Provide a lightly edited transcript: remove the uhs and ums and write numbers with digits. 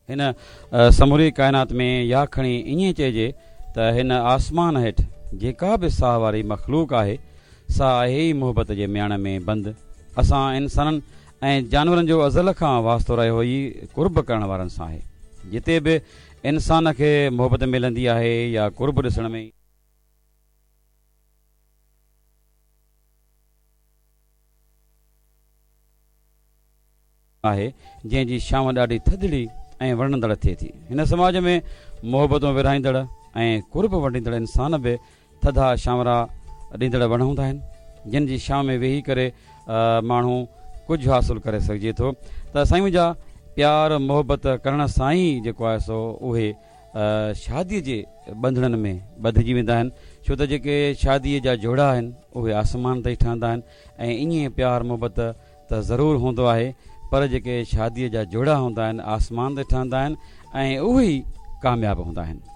هن سموري ڪائنات ۾ يا کڻي ائين چئجي ته هن آسمان هيٺ جيڪا به ساهه واري مخلوق آهي، سا آهي ئي محبت جي مياڻ ۾ بند. اسان انسانن ۽ جانورن جو ازل کان واسطو رهيو ئي قرب ڪرڻ وارن سان آهي. جتي به انسان کي محبت ملندي آهي يا قرب ڏسڻ ۾. آهي، جنهن جي ڇانو ڏاڍي ٿڌڙي ۽ وڻندڙ ٿئي ٿي. هن سماج ۾ محبتون ورهائيندڙ ۽ قرب ونڊيندڙ انسان به ٿڌا ڇانورا ڏيندڙ وڻ هوندا آهن، جن جي ڇانو ۾ ويهي ڪري ماڻهو ڪجهه حاصل ڪري سگهجي ٿو ته سائين منهنجا پيار محبت ڪرڻ سان ئي جيڪو آهي سو اهي شاديء جي ٻنڌڻن ۾ ٻڌجي ويندا آهن، ڇو ته جيڪي شاديء جا جوڙا آهن اهي آسمان تائين ٺهندا آهن ۽ ائين پيار محبت ته ضرور هوندو آهي پر جيڪي شاديء جا جوڙا هوندا آهن آسمان تي ٺهندا آهن ۽ اهي ئي ڪامياب هوندا آهن.